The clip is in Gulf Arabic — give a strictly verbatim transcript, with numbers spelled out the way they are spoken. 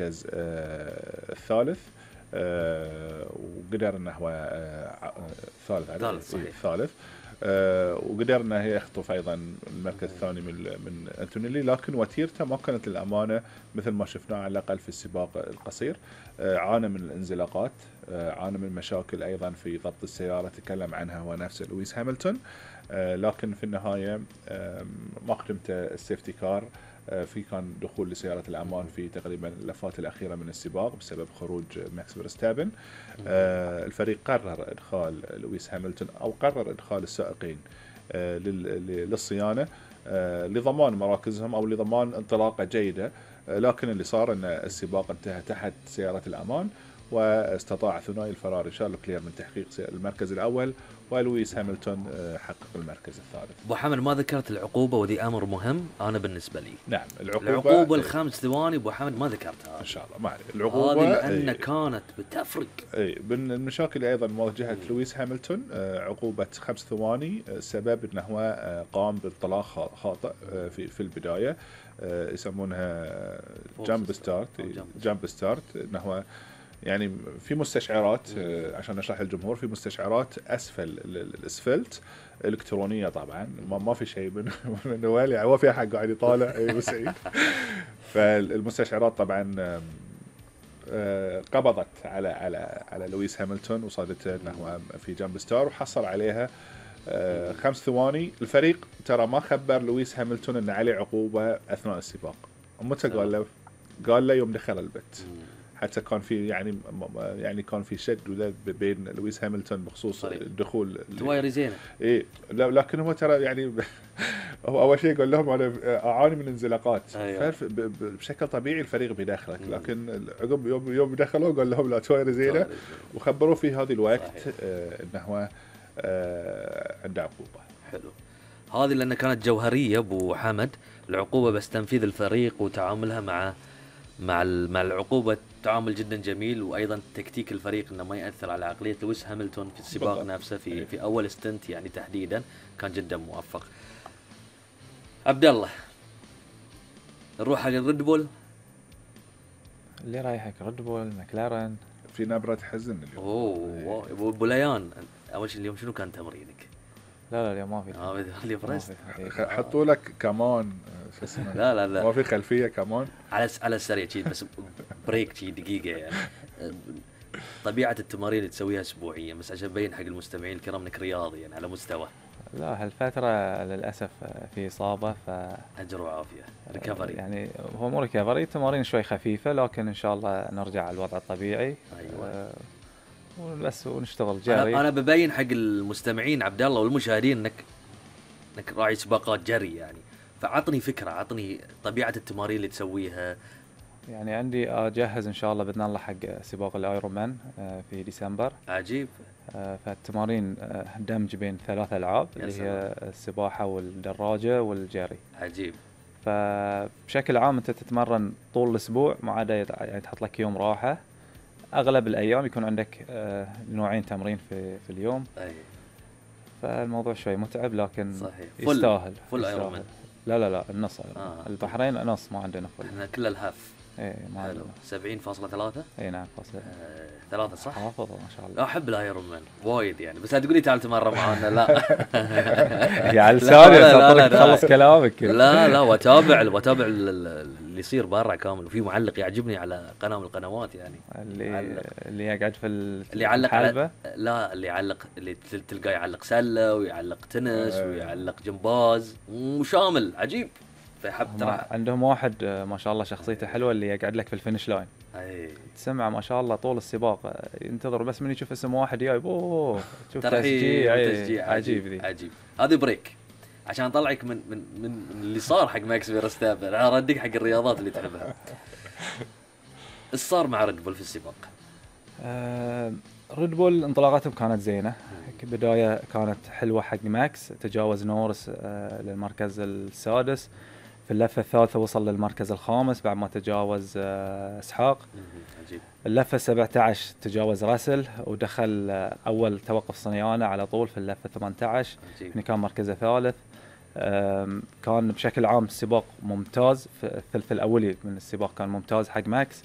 المركز الثالث، وقدر انه هو ثالث الثالث وقدر انه يخطف ايضا المركز الثاني من من انتونيلي، لكن وتيرته ما كانت للامانه مثل ما شفناه على الاقل في السباق القصير. عانى من الانزلاقات، عانى من مشاكل ايضا في ضبط السياره تكلم عنها هو نفسه لويس هاملتون، لكن في النهايه ما قدمت السيفتي كار. في كان دخول لسيارة الأمان في تقريبا اللفات الأخيرة من السباق بسبب خروج ماكس فيرستابن. الفريق قرر إدخال لويس هاملتون أو قرر إدخال السائقين للصيانة لضمان مراكزهم أو لضمان انطلاقة جيدة، لكن اللي صار أن السباق انتهى تحت سيارة الأمان، واستطاع ثنائي الفراري شارل لوكلير من تحقيق المركز الأول، ولويس هاملتون حقق المركز الثالث. ابو حمد ما ذكرت العقوبه، ودي امر مهم انا بالنسبه لي. نعم العقوبه العقوبه الخمس ثواني ابو حمد ما ذكرتها ان شاء الله. ما عليه العقوبه هذه لان ايه كانت بتفرق. اي من المشاكل ايضا مواجهه لويس هاملتون عقوبه خمس ثواني، السبب انه هو قام بانطلاق خاطئ في في البدايه، يسمونها جامب ستارت. جامب ستارت انه هو يعني في مستشعرات، عشان نشرح للجمهور، في مستشعرات اسفل الاسفلت الكترونيه طبعا، ما, ما في شيء من من يعني هو في احد قاعد يطالع اي سعيد. فالمستشعرات طبعا قبضت على على على لويس هاملتون وصادته انه هو في جامب ستار وحصل عليها خمس ثواني. الفريق ترى ما خبر لويس هاملتون ان عليه عقوبه اثناء السباق، متى قال له؟ قال له يوم دخل البت. حتى كان في يعني يعني كان في شد وذا بين لويس هاملتون بخصوص الدخول. تويري زينه. اي لكن هو ترى يعني هو اول شيء قال لهم انا اعاني من انزلاقات. أيوة. بشكل طبيعي الفريق بيدخلك، لكن عقب يوم يوم دخلوا قال لهم لا تويري زينه، وخبروه في هذا الوقت آه انه هو آه عنده عقوبه. حلو. هذه لان كانت جوهريه ابو حمد العقوبه، بس تنفيذ الفريق وتعاملها مع مع مع العقوبه تعامل جدا جميل، وايضا تكتيك الفريق انه ما ياثر على عقليه لويس هاملتون في السباق بالضبط. نفسه في أيه. في اول ستنت يعني تحديدا كان جدا موفق. عبد الله نروح حق الريد بول. اللي رايحك ريد بول مكلارن. في نبره حزن اليوم. اوه ابو بوليان، اول شيء اليوم شنو كان تمرينك؟ لا لا اليوم ما في. اه اليوم فرست. حطوا لك كمان لا لا لا ما في خلفيه كمان على على السريع شيء، بس بريك شيء دقيقه يعني. طبيعه التمارين اللي تسويها اسبوعيا، بس عشان ابين حق المستمعين الكرام انك رياضي يعني على مستوى. لا هالفتره للاسف في اصابه، ف اجر وعافيه ريكفري. يعني هو مو ريكفري، تمارين شوي خفيفه، لكن ان شاء الله نرجع على الوضع الطبيعي. ايوه أه بس ونشتغل جري. انا, أنا ببين حق المستمعين عبد الله والمشاهدين انك انك راعي سباقات جري يعني، فعطني فكره، عطني طبيعه التمارين اللي تسويها. يعني عندي اجهز ان شاء الله باذن الله حق سباق الايرون مان في ديسمبر. عجيب. فالتمارين دمج بين ثلاث العاب اللي هي السباحه والدراجه والجري. عجيب. فبشكل عام انت تتمرن طول الاسبوع، ما عدا يعني تحط لك يوم راحه. اغلب الايام يكون عندك نوعين تمرين في في اليوم. اي فالموضوع شوي متعب، لكن صحيح. يستاهل. فل ايرون مان. لا لا لا النص. آه. البحرين نص، ما عندنا فل. احنا كل الهاف. ايه ما عندنا. سبعين فاصلة ثلاثة. اي نعم فاصلة آه، ثلاثة صح؟ حافظ ما شاء الله. احب الايرون مان وايد يعني، بس لا تقولي تعال تمرن معنا لا. يا لساني تخلص كلامك. لا لا واتابع واتابع اللي يصير برا كامل، وفي معلق يعجبني على قناه من القنوات يعني. اللي معلق. اللي يقعد في اللي يعلق على لا اللي يعلق اللي تلقاه يعلق سله ويعلق تنس أه. ويعلق جمباز وشامل عجيب. فحب ترى عندهم واحد ما شاء الله شخصيته حلوه اللي يقعد لك في الفينش لاين. اي تسمع ما شاء الله طول السباق ينتظر بس من يشوف اسم واحد جايب اوه شوف تشجيع تشجيع عجيب ذي. عجيب. هذه بريك عشان اطلعك من من من اللي صار حق ماكس فيرستابن، اردك حق الرياضات اللي تحبها. ايش صار مع ريد بول في السباق؟ آه ريد بول انطلاقاتهم كانت زينه، بدايه كانت حلوه حق ماكس، تجاوز نورس آه للمركز السادس، في اللفه الثالثه وصل للمركز الخامس بعد ما تجاوز آه اسحاق. عجيب. اللفه سبعة عشر تجاوز راسل ودخل آه اول توقف صنيانه على طول في اللفه ثمانية عشر، هنا كان مركزه ثالث. كان بشكل عام السباق ممتاز، في الثلث الأولي من السباق كان ممتاز حق ماكس.